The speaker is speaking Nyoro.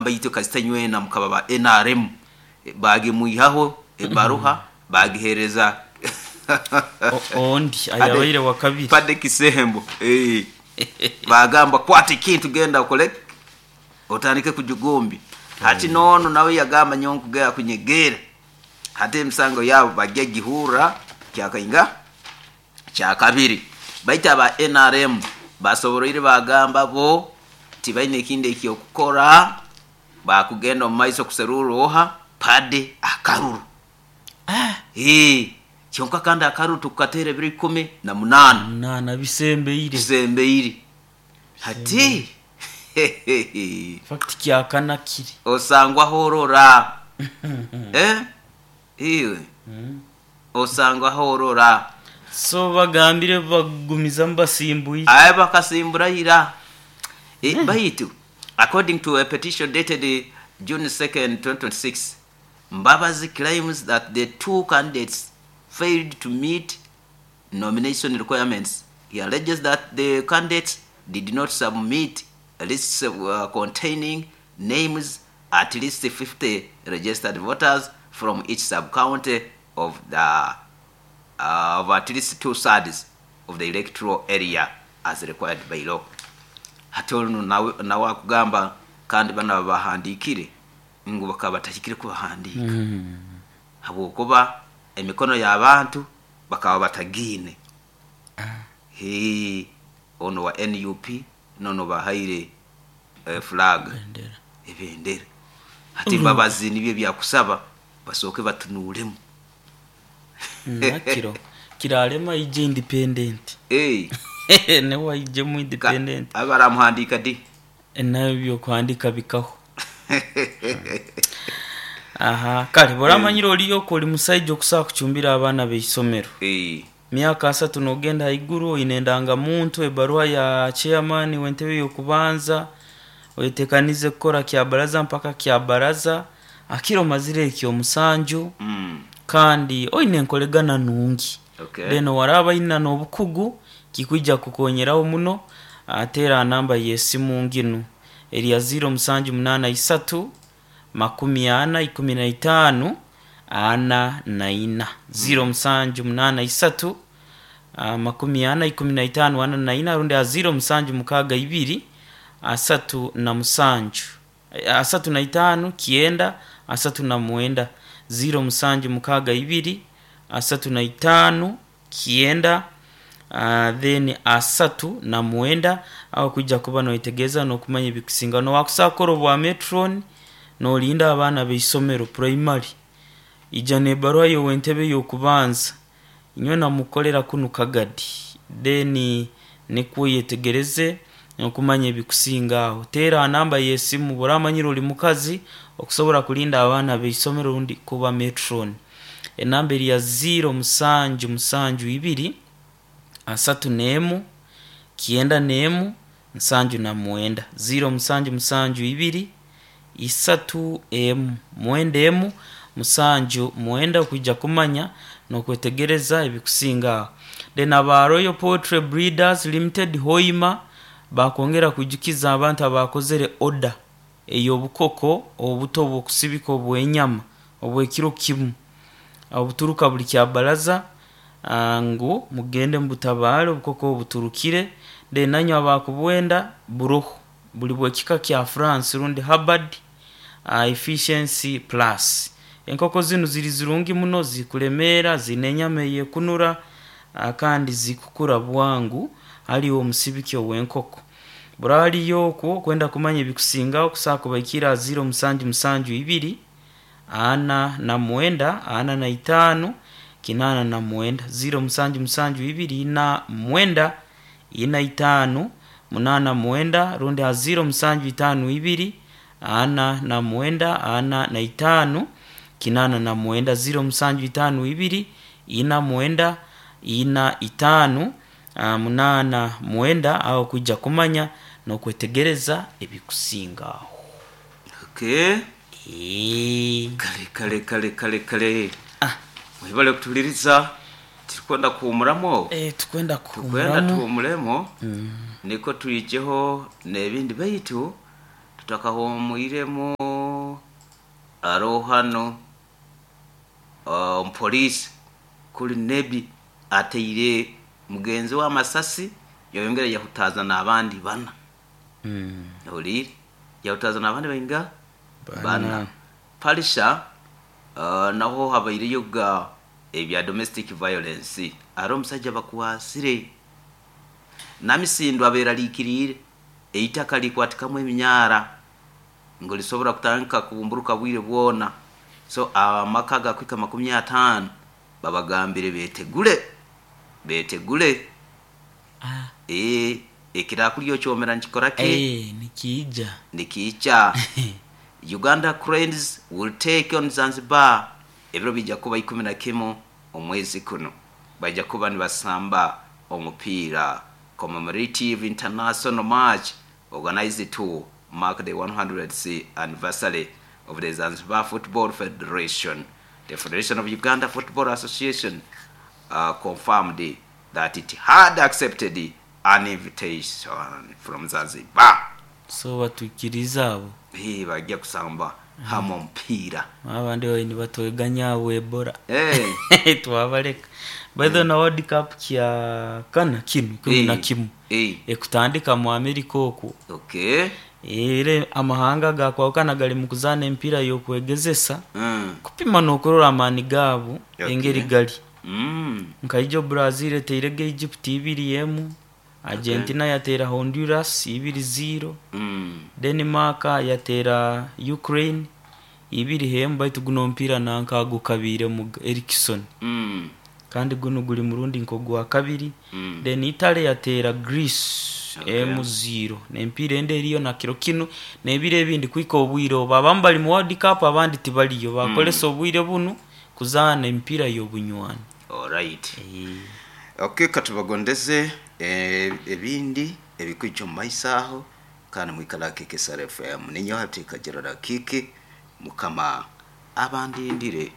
Itwe kasita nywena mukaba ba NRM bagimwihaho ebaruha bagihereza Ondi ayabaire wa kabiri. Pade Kisembo. Bagamba, "Kwata ekintu, genda okole, otandike kujugumbi." Hati nono nawe yagamba, "Nyowe nkugenda kunyegera." Hati emisango yabo bajya gihurra kyakainga kyakabiri, baitu aba NRM basoboroire bagamba bo tibaine ekindi ekyokukora, bakugenda omu maiso kuserura oha Pade akaruru. Kyonka kandi akaruru tukukateera ebiro 18. Munaana bisembeire. Bisembeire hati. Fact kyakana kiri. Osangwaho orora, iwe osangwaho orora. So bagambire bagumizamu basimbwire. Aye bakasimbura ira. Baitu according to a petition dated June 2nd, 2026, Mbabazi claims that the two candidates failed to meet nomination requirements. He alleges that the candidates did not submit lists containing names at least 50 registered voters from each sub-county of at least two thirds of the electoral area as required by law. Hati onu nawe akugamba kandi bana babahandiikire ngu bakaba batahikire kubahandiika habwokuba emikono y'abantu bakaba batagiine. Hee, ono wa NUP nono bahaire flag. Bendera. Ebendera. Hati Mbabazi nibyo byakusaba basooke batunuulemu. Nakiro kiralema ije independent. Newe aijemu independent. Abaramuhandiika di? Nayo byokuhandika bikaho. Aha kale buramanyire oliyo ko oli musaija okusobola kucumbira abaana b'eisomero. Myaka 30 nogenda haiguru, oine endangamuntu, ebaruha ya chairman w'entebe y'okubanza, oyetekanize kukora kyabaraza mpaka kyabaraza akiro omazire ekyomusanju, kandi oine enkoregana nungi. Then waraba aina n'obukugu kikwija kukonyeraho muno. Ateera namba y'esimu nginu eri ya 0783 40 15 44, 0783 40 15 44, rundi a 0762 37 35 9 39, 0762 35 9 then 39. Aho kwijja kuba noyetegereza n'okumanya ebikusinga nowakusobola kukora obwa matron nolinda abaana b'eisomero primary, ija n'ebaruha y'ow'entebe y'okubanza, inywe namukolera kunu Kagadi, then nikwo yetegereze okumanya ebikusinga aho. Teera ha namba y'esimu bw'oramanyire oli mukazi okusobora kulinda abaana b'eisomero rundi kuba matron, enamba eri ya 0772 31 91 79, 0772 31 91 79, okwija kumanya n'okwetegereza ebikusinga aho. Then aba Royal Poultry Breeders Limited Hoima bakwongera kwijukiza abantu abakozere order ey'obukoko obuto obw'okusibika obw'enyama obw'ekiro kimu obuturuka buli kyabaraza, ngu mugende mubutabaare obukoko obu buturukire. Then nanywe abakubwenda buroho buli bw'ekika kya France rundi Hubbard Efficiency Plus. Enkoko zinu ziri zirungi muno, zikulemeera, ziine enyama eyekunura, kandi zikukura bwangu hali omusibiki ow'enkoko. Buraliyo okwo kwenda kumanya ebikusingaho kusobola kubaikira ha 0772 49 45 89, 0772 49 45 89, rundi ha 0752 49 45 89, 0752 49 45 89, aho kwijja kumanya n'okwetegereza ebikusinga aho. Okay. Kale kale kale kale kale. Mwebale kutuhuliriza, tirikwenda kuhumuramu. Tukwenda Tukwenda kuhumuramu. Tuhuumuremu niko twijeho n'ebindi, baitu. Tutakahumwiremu, aroho hano omupoliisi kuli Nebi ateire mugenzi we amasasi, yayongera yahutaza n'abandi bana. Ohuliire, yahutaza n'abandi bainga? Bana. Palisha, naho habaireyo ga ebya domestic violence, ari omusajja bakwasire. Namisindu abeeraliikiriire eitaka likwatikamu eminyara ngu lisobora kutandika kubumburuka bwire bwona, so amaka gakwika 50 babagambire betegule, betegule. Ah. Ekirakulya okyomera nikikora ki? Nikiija. Nikiija. Uganda Cranes will take on Zanzibar, ebiro bija kuba 11 omwezi kuno, baija kuba nibasamba omupiira commemorative international match organized to mark the 100th anniversary of the Zanzibar Football Federation. The Federation of Uganda Football Association confirmed that it had accepted an invitation from Zanzibar. So batwikiriza abo. Bajja kusamba hamu omupiira. Abandi babaire nibatweganya abo Ebola. Twabaleka. By the way, na World Cup kya kana kinu ikumi na kimu ekutandika mu America okwo. Era amahanga gakwahukana gari mu kuzaana emipiira y'okwegezesa kupima n'okurora amaani gaabo engeri gari. Nka ijo Brazil eteirege Egypt 2-1, Argentina yateera Honduras 2-0, Denmark yateera Ukraine 2-1, baitu guno omupiira nanka gukabiiremu Erikson. Kandi gunu guri murundi nk'ogwa kabiri. Then Italy yateera Greece 1-0. N'emipiira endi eriyo na kiro kinu n'ebiro ebindi kuhika obwire obu. Abamu bari mu World Cup abandi tibariyo. Bakoresa obwire bunu kuzaana emipiira y'obunywani. Alright. Okay, katubagondeze ebindi ebikwija omu maiso aho, kandi mwikara KKSR FM. Ninyowe Hatika Gerald Kiki, Mukama abandindire.